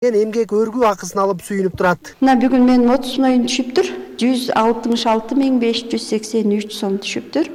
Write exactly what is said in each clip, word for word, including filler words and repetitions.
эмгек өргүү акысын алып сүйүнүп турат. Мына бүгүн менин отуз сыноюм түшүптүр. жүз алтымыш алты миң беш жүз сексен үч сом түшүптүр.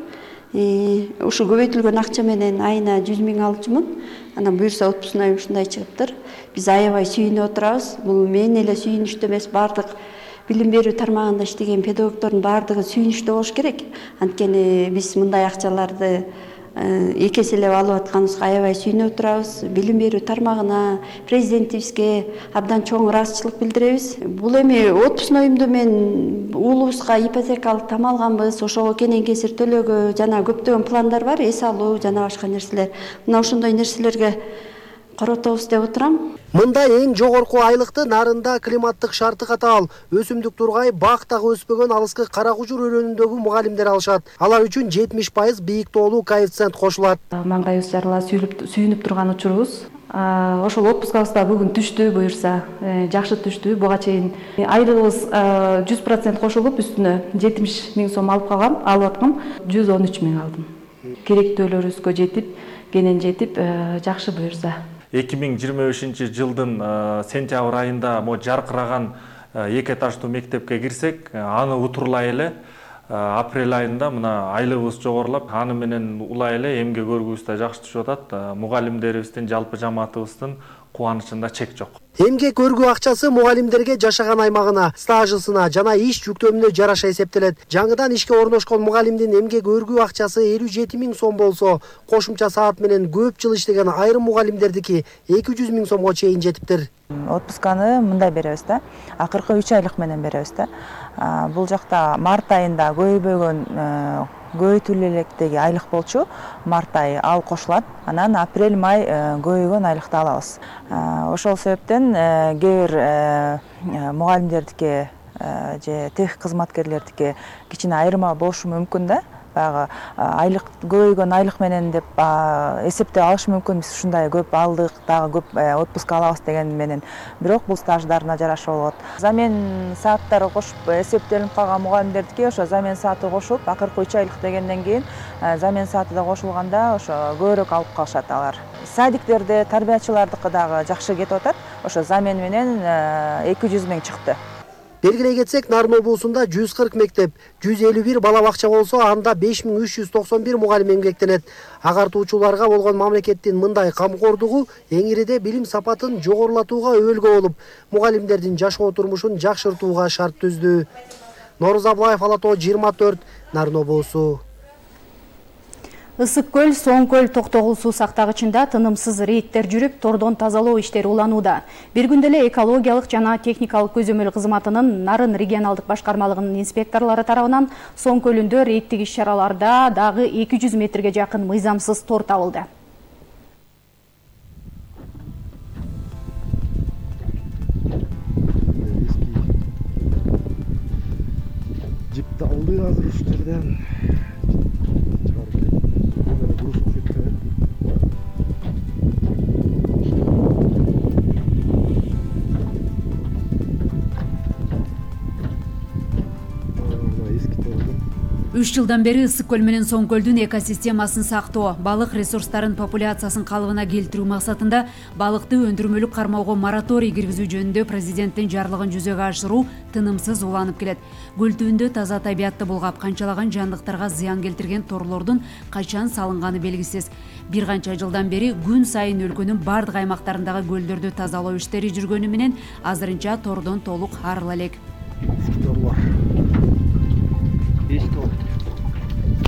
Ушу көбөйтүлгөн акча менен айына жүз миң алчумун. Анан буюрса отуз сыноюм ушундай чыгыптыр. Биз аябай сүйүнүп отурабыз. Бул мен эле сүйүнүчтүү эмес, бардык билим берүү тармагында иштеген педагогдордун бардыгы сүйүнүчтүү болуш керек. Анткени биз мындай акчаларды эки эселеп алып атканыбызга аябай сүйүнүп отурабыз. Билим берүү тармагына, президентибизге абдан чоң ыраазычылык билдиребиз. Бул эми отуз сыноюмду мен уулубузга ипотекалык там алганбыз, ошого кенен кесир төлөөгө жана көптөгөн пландар бар, эс алуу жана башка нерселер. Мына ошондой нерселерге коротобуз деп отурам. Мында эң жогорку айлыкты нарында климаттык шарты катаал, өсүмдүк тургай, бактагы өспөгөн алыскы кара кужур өрөөнүндөгү мугалимдер алышат. Алар үчүн жетимиш пайыз бийик тоолуу коэффициент кошулат. Маңгайыбыз жарыла сүйүнүп турган учурубуз. Ошол отпускабыз да бүгүн түштү, буюрса жакшы түштү. Буга чейин айлыгыбыз жүз процент кошулуп, үстүнө жетимиш миң сом алып калгам, алып аткам. жүз он үч миң алдым. Керектөөлөрүбүзгө жетип, кенен жетип, жакшы буюрса. эки миң жыйырма бешинчи жылдын сентябрь айында мо жаркыраган эки этаждуу мектепке кирсек, аны утурлай эле апрель айында мына айлыгыбыз жогорулап, аны менен улай эле эмгек өргүүбүз да жакшы түшүп атат. Мугалимдерибиздин, жалпы жамаатыбыздын кубанычында чек жок. Эмгек өргүү акчасы мугалимдерге жашаган аймагына, стажысына жана иш жүктөмүнө жараша эсептелет. Жаңыдан ишке орношкон мугалимдин эмгек өргүү акчасы элүү жети миң сом болсо, кошумча саат менен көп жыл иштеген айрым мугалимдердики эки жүз миң сомго чейин жетиптир. Отпусканы мындай беребиз да, акыркы үч айлык менен беребиз да. Бул жакта март айында көйбөгөн көбөйтүлө электеги айлык болчу, март айы ал кошулат. Анан апрель май көбөйгөн айлыкты алабыз. Ошол себептен кээ бир мугалимдердики же тех кызматкерлердики кичине айырма болушу мүмкүн да. Баягы айлык көбөйгөн айлык менен деп эсептеп алышы мүмкүн, биз ушундай көп алдык, дагы көп отпуск алабыз деген менен. Бирок бул стаждарына жараша болот. Замен сааттары кошуп эсептелип калган мугалимдердики ошо замен сааты кошуп, акыркы үч айлык дегенден кийин замен сааты да кошулганда ошо көбүрөөк алып калышат алар. Садиктерде, тарбиячылардыкы дагы жакшы кетип атат. Ошо замен менен эки жүз миң чыкты. Белгилей кетсек, Нарын облусунда жүз кырк мектеп, жүз элүү бир бала бакча болсо, анда беш миң үч жүз токсон бир мугалим эмгектенет. Агартуучуларга болгон мамлекеттин мындай камкордугу эңириде билим сапатын жогорулатууга өбөлгө болуп, мугалимдердин жашоо турмушун жакшыртууга шарт түздү. Нооруз Аблаев, Ала Тоо жыйырма төрт, Нарын облусу. Ысык көл, Соң көл токтогул суу сактагычында тынымсыз рейдтер жүрүп, тордон тазалоо иштери уланууда. Бир күндө эле экологиялык жана техникалык көзөмөл кызматынын Нарын регионалдык башкармалыгынын инспекторлору тарабынан Соң көлүндө рейдтик иш-чараларда дагы эки жүз метрге жакын мыйзамсыз тор табылды. Жип табылды азыр ушул жерден. үч жылдан бери Ысык көл менен Соң көлдүн экосистемасын сактоо, балык ресурстарын популяциясын калыбына келтирүү максатында балыкты өндүрмөлүк кармоого мораторий киргизүү жөнүндө президенттин жарлыгын жүзөгө ашыруу тынымсыз уланып келет. Көл түбүндө таза табиятты булгап, канчалаган жандыктарга зыян келтирген торлордун качан салынганы белгисиз. Бир канча жылдан бери күн сайын өлкөнүн бардык аймактарындагы көлдөрдү тазалоо иштери жүргөнү менен азырынча тордон толук арыла элек.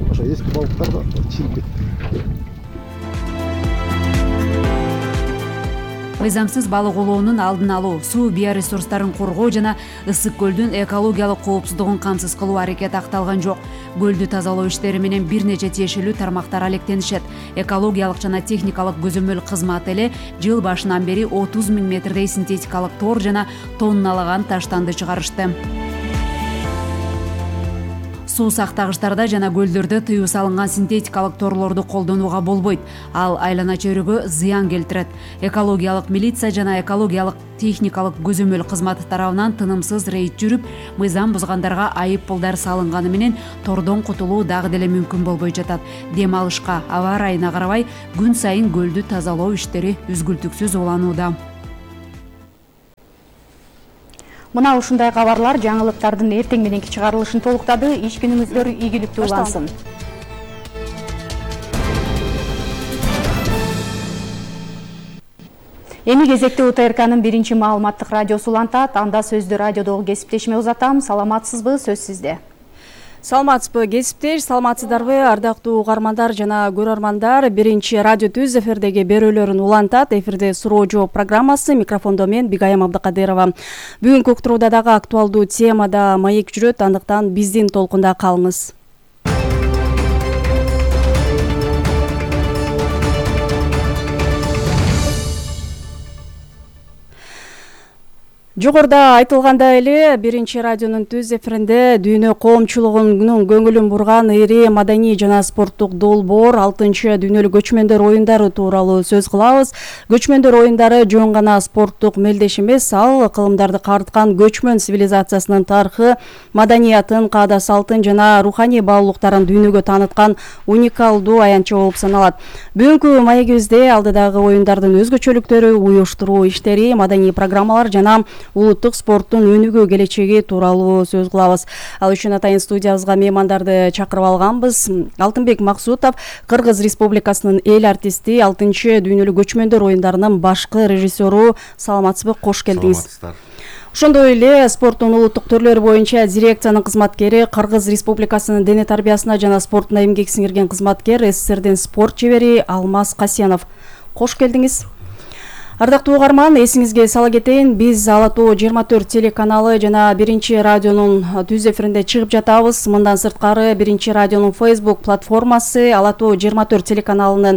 Ошо эски балыктар да чыгып кетти. Мыйзамсыз балык улоонун алдын алуу, суу биоресурстарын коргоо жана Ысык көлдүн экологиялык коопсуздугун камсыз кылуу аракети акталган жок. Көлдү тазалоо иштери менен бир нече тиешелүү тармактар алектенишет. Экологиялык жана техникалык көзөмөл кызматы эле жыл башынан бери отуз миң метрдей синтетикалык тор жана тонналаган таштанды чыгарышты. Суу сактагычтарда жана көлдөрдө тыюу салынган синтетикалык торлорду колдонууга болбойт. Ал айлана чөйрөгө зыян келтирет. Экологиялык милиция жана экологиялык техникалык көзөмөл кызматы тарабынан тынымсыз рейд жүрүп, мыйзам бузгандарга айып пулдар салынганы менен тордон кутулуу дагы деле мүмкүн болбой жатат. Дем алышка, аба ырайына карабай күн сайын көлдү тазалоо иштери үзгүлтүксүз уланууда. Мына ушундай кабарлар жаңылыктардын эртең мененки чыгарылышын толуктады. Иш күнүңүздөр ийгиликтүү улансын. Эми кезекте У Т Р К'нын биринчи маалыматтык радиосу улантат. Анда сөздү радиодогу кесиптешиме узатам. Саламатсызбы? Сөз сизде. Саламатсызбы кесиптеш, саламатсыздарбы ардактуу угармандар жана көрөрмандар. Биринчи радио түз эфирдеги берүүлөрүн улантат. Эфирде суроо жооп программасы, микрофондо мен Бигайым Абдыкадырова. Бүгүнкү уктурууда дагы актуалдуу темада маек жүрөт, андыктан биздин толкунда калыңыз. Жогоруда айтылгандай эле биринчи радионун түз эфиринде дүйнө коомчулугунун көңүлүн бурган ири маданий жана спорттук долбоор алтынчы дүйнөлүк көчмөндөр оюндары тууралуу сөз кылабыз. Көчмөндөр оюндары жөн гана спорттук мелдеш эмес, ал кылымдарды карыткан көчмөн цивилизациясынын тарыхы, маданиятын, каада салтын жана руханий баалуулуктарын дүйнөгө тааныткан уникалдуу аянтча болуп саналат. Бүгүнкү маегибизде алдыдагы оюндардын өзгөчөлүктөрү, уюштуруу иштери, маданий программалар жана улуттук спорттун өнүгүү келечеги тууралуу сөз кылабыз. Ал үчүн атайын студиябызга меймандарды чакырып алганбыз. Алтынбек Максутов, Кыргыз Республикасынын эл артисти, алтынчы дүйнөлүк көчмөндөр оюндарынын башкы режиссеру. Саламатсызбы, кош келдиңиз. Саламатсыздар. Ошондой эле спорттун улуттук түрлөрү боюнча дирекциянын кызматкери, Кыргыз Республикасынын дене тарбиясына жана спортуна эмгек сиңирген кызматкер, СССРдин спорт жебери Алмаз Касенов. Кош келдиңиз. Ардактуу угарман, эсиңизге сала кетейин, биз Ала Тоо жыйырма төрт телеканалы жана биринчи радионун түз эфиринде чыгып жатабыз. Мындан сырткары биринчи радионун Facebook платформасы, Ала Тоо жыйырма төрт телеканалынын